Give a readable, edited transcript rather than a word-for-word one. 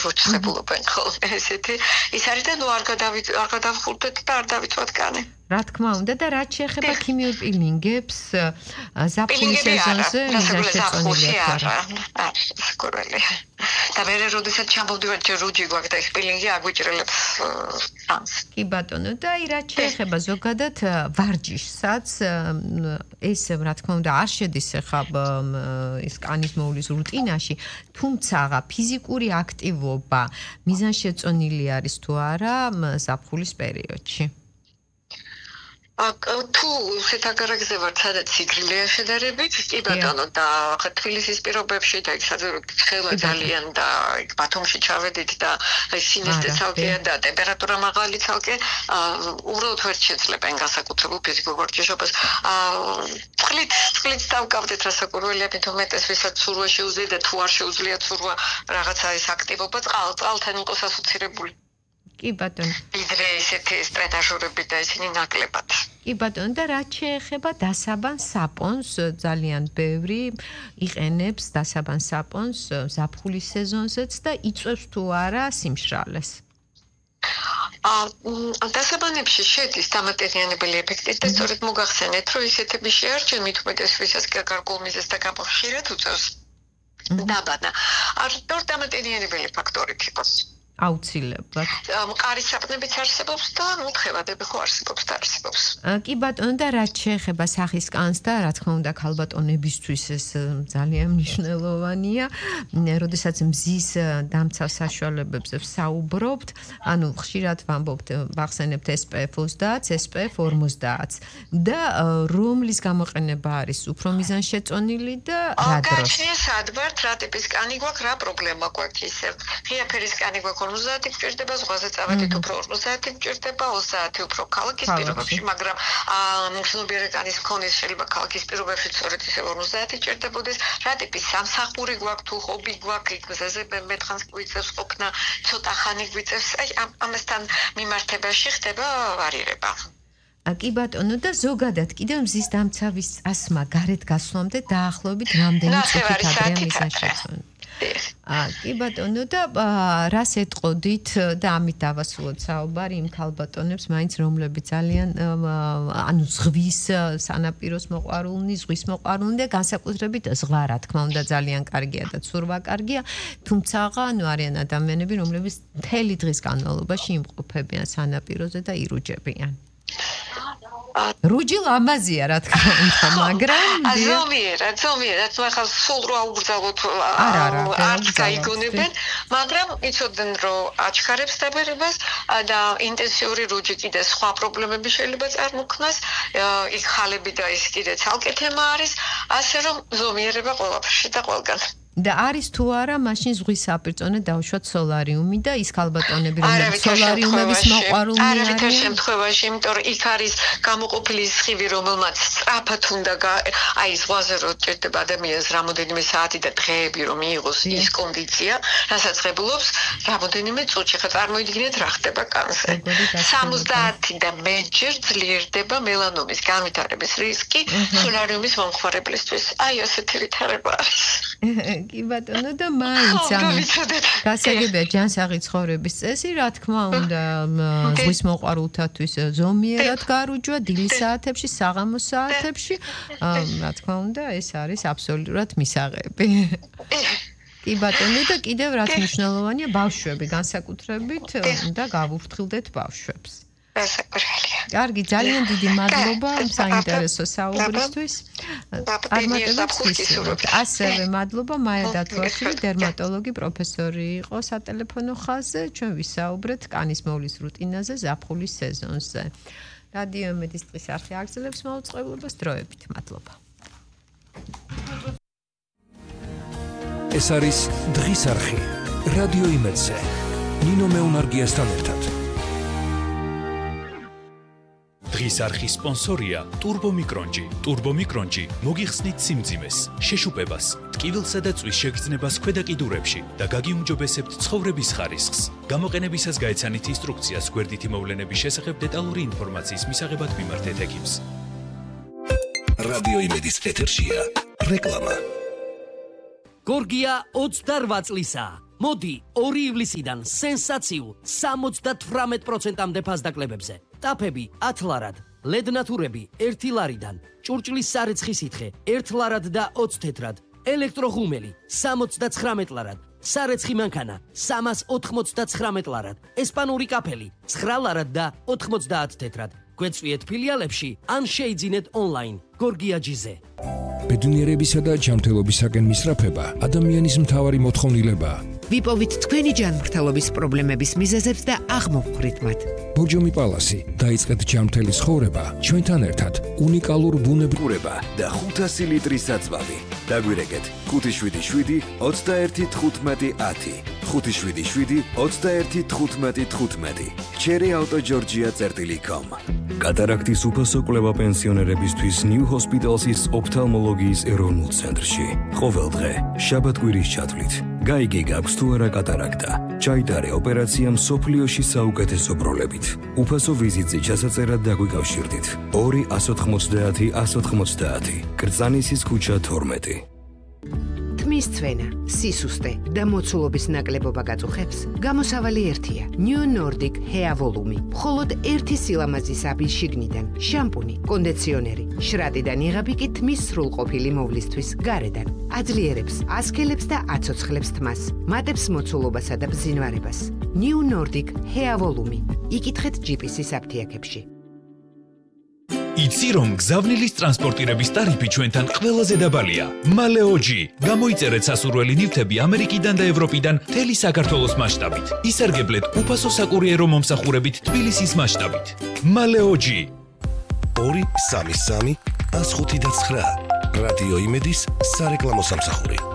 როჩხებულობენ ხოლმე ესეთი ის არის და ნუ არ გადავხურდეთ და არ დავიწვათ კანი რა თქმა უნდა და რაც შეეხება ქიმიურ პილინგებს ზაფხულის სეზონზე მიზანშეწონილია სკურველი და მე როდესაც ჩამოვდივარ ჯერ რუჯი გვაქვს და ეს პილინგი აგვიჭრელებს ჩანს კი ბატონო და აი რაც შეეხება ზოგადად ვარჯიშსაც ეს რა თქმა უნდა არ შედის ახლა ის კანის მოვლის რუტინაში თუმცა ფიზიკური აქტივობა მიზანშეწონილი არის თუ არა ზაფხულის პერიოდში თუ შეთაგარაგზე ვართ სადაც სიგრილეა შედარებით კი ბატონო და ხა თბილისის პირობებში და იქ ცხელვა ძალიან და იქ ბათუმში ჩავედით და აი სინესტე ცალკეა და ტემპერატურა მაღალი ცალკე უბრალოდ ვერ შეძლებენ განსაკუთრებულ ფიზიკურ ვარჯიშობას წყლით დავკავდეთ რასაკურველია თუმეტეს ვისაც სურვა შეუძლია და თუ არ შეუძლია სურვა რაღაცა ის აქტივობა წყალთან იყოს ასოცირებული კი ბატონო. ვიდრე ესეთი სტრეტაჟურები და ისინი ნაკლებად. კი ბატონო და რაც შეეხება დასაბან საპონს ძალიან ბევრი იყენებს დასაბან საპონს ზაფხულის სეზონზეც და იწვევს თუ არა სიმშრალეს. დასაბანებში შედის დამატებიანი ეფექტი და სწორედ მოგახსენეთ რომ ისეთები შეარჩენ მით უმეტეს ვისაც გარკვეულ მიზეზს და გამხშირად უწევს დაბანა. არ დამატებიანი ფაქტორით იყოს. აუცილებლად. მყარი საპნებიც არსებობს და თხევადები ხო არსებობს და არსებობს. კი ბატონო და რაც შეეხება სახის კანს და რა თქმა უნდა ქალბატონებისთვის ეს ძალიან მნიშვნელოვანია. როდესაც მზის დამცავ საშუალებებზე ვსაუბრობთ, ანუ ხშირად ვამბობთ, ვახსენებთ SPF 30, SPF 50 და რომლის გამოყენება არის უფრო მიზანშეწონილი და რა დროს? გაჩნია სად ვართ, რა ტიპის კანი გვაქვს, რა პრობლემა გვაქვს ისევ. ღია ფერის კანი გვაქვს 50 გჭირდება, ზღვაზე წავედით უფრო 50 გჭირდება, 30 უფრო ქალაქის პირობებში, მაგრამ მგრძნობიარე კანის მქონეს შეიძლება ქალაქის პირობებში სწორედ ისე 50 გჭირდებოდეს. რა ტიპის სამსახური გვაქვს, თუ ჰობი გვაქვს, გზაზე მეთხანს გვიწევს ყოფნა, ცოტა ხანი გვიწევს, აი ამასთან მიმართებაში ხდება ვარირება. კი ბატონო და ზოგადად კიდევ მზის დამცავის წასმა გარეთ გასვლამდე დაახლოებით რამდენი წუთით ადრეა მიზანშეწონილი? კი ბატონო და რას ეტყოდით და ამით დავასრულოთ საუბარი იმ ქალბატონებს მაინც რომლებიც ძალიან ანუ ზღვის სანაპიროს მოყვარულნი, ზღვის მოყვარულნი და განსაკუთრებით ზღვა რა თქმა უნდა ძალიან კარგია და ცურვა კარგია, თუმცა ანუ არიან ადამიანები რომლებიც მთელი დღის განმავლობაში იმყოფებიან სანაპიროზე და ირუჯებიან. რუჯი ლამაზია რა თქმა უნდა, მაგრამ ზომიერად, თუ ახლა სულ რო აუგზავნოთ არც გაიგონებენ, მაგრამ იცოდნენ რომ აჩქარებს დაბერებას და ინტენსიური რუჯი კიდე სხვა პრობლემები შეიძლება წარმოქმნას, იქ ხალები და ის კიდე ცალკე თემა არის, ასე რომ ზომიერება ყველაფერში და ყველგან. და არის თუ არა მაშინ ზღვის საპირწონე დავუშვათ სოლარიუმი და ის ქალბატონები რომლებიც სოლარიუმების მოყვარულნი არიან არავითარ შემთხვევაში, იმიტომ რომ იქ არის გამოყოფილი სხივი, რომელმაც სწრაფად უნდა აი ზღვაზე რო ჭირდება ადამიანს რამოდენიმე საათი და დღეები რომ მიიღოს ის კონდიცია, რასაც ღებულობს რამოდენიმე წუთში. ხა წარმოიდგინეთ რა ხდება კანზე. 70 და მეტჯერ ძლიერდება მელანომის განვითარების რისკი სოლარიუმის მომხმარებლისთვის. აი ასეთი ვითარება არის. კი ბატონო და მაინც გასაგებია ჯანსაღი ცხოვრების წესი, რა თქმა უნდა, ზღვის მოყვარულთათვის ზომიერად გარუჯვა დილის საათებში, საღამოს საათებში, რა თქმა უნდა, ეს არის აბსოლუტურად მისაღები. კი ბატონო და კიდევ რაც მნიშვნელოვანია, ბავშვები განსაკუთრებით და გავუფრთხილდეთ ბავშვებს. კარგი, ძალიან დიდი მადლობა საინტერესო საუბრისთვის. ასევე მადლობა მაია დათვაშვილი, დერმატოლოგი, პროფესორი იყო სატელეფონო ხაზზე. ჩვენ ვისაუბრეთ კანის მოვლის რუტინაზე ზაფხულის სეზონზე. რადიო იმედის დღის არხი აგრძელებს მაუწყებლობას დროებით. მადლობა. ეს არის დღის არხი. რადიო იმედზე. ნინო მეუნარგიასთან ერთად. დღის არხის სპონსორია Turbo Micronji. Turbo Micronji მოგიხსნით სიმძიმეს, შეშუპებას, ტკივილსა და წვის შეგრძნებას ქვედა კიდურებში და გაგიუმჯობესებთ ცხოვრების ხარისხს. გამოყენებისას გაეცანით ინსტრუქციას გვერდითი მოვლენების შესახებ დეტალური ინფორმაციის მისაღებად მიმართეთ ექიმს. რადიო იმედის ეთერშია რეკლამა. გორგია 28 წლისა. მოდი 2 ივლისიდან სენსაციულ 78%-მდე ფასდაკლებებზე. ტაფები 10 ლარად, LED ნათურები 1 ლარიდან, ჭურჭლის სარეცხი სითხე 1 ლარად და 20 თეთრად, ელექტროღუმელი 79 ლარად, სარეცხი მანქანა 399 ლარად, ესპანური კაფელი 9 ლარად და 90 თეთრად. გვეწვიეთ ფილიალებში ან შეიძინეთ ონლაინ. გორგიაჯიზე. ბედნიერებისა და ჯანმრთელობისაკენ მისწრაფება ადამიანის მთავარი მოთხოვნილებაა. ვიპოვით თქვენი ჯანმრთელობის პრობლემების მიზეზებს და აღმოვხვრით მათ. ბორჯომი პალასი, დაიწყეთ ჯანმრთელი ცხოვრება ჩვენთან ერთად. უნიკალურ ბუნებრივება და 500 ლიტრის საწვავი. დაგვირეკეთ 577 21 15 10. 577 21 15 15. cherryautogeorgia.com. კატარაქტის უფასო კვლევა პენსიონერებისთვის New Hospitals-ის ოფთალმოლოგიის ეროვნულ ცენტრში. ყოველდღე, შაბათ-კვირის ჩათვლით. გაიგე გაქვს თუ არა კატარაქტა. ჩაიტარე ოპერაცია მსოფლიოში საუკეთესო პროლებით. უფასო ვიზიტზე ჩასაწერად დაგვიკავშირდით. 2 190 190. კრწანისის ქუჩა 12. თმის ცვენა, სისუსტე და მოცულობის ნაკლებობა გაწუხებს, გამოსავალი ერთია. New Nordic Hair Volume. მხოლოდ ერთი სილამაზის აბი შიგნიდან, შამპუნი, კონდიციონერი, შრატიდან იღები კი თმის სრულყოფილი მოვლისთვის გარედან. აძლიერებს, ასქელებს და აცოცხლებს თმას, მატებს მოცულობასა და ბზინვარებას. New Nordic Hair Volume. იკითხეთ GPS-ის აფთიაქებში. იცი რომ გზავნილის ტრანსპორტირების ტარიფი ჩვენთან ყველაზე დაბალია. მალეოჯი. გამოიწერეთ სასურველი ნივთები ამერიკიდან და ევროპიდან მთელი საქართველოს მასშტაბით. ისარგებლეთ უფასო საკურიერო მომსახურებით თბილისის მასშტაბით. მალეოჯი. 233 159 რადიო იმედის სარეკლამო სამსახური.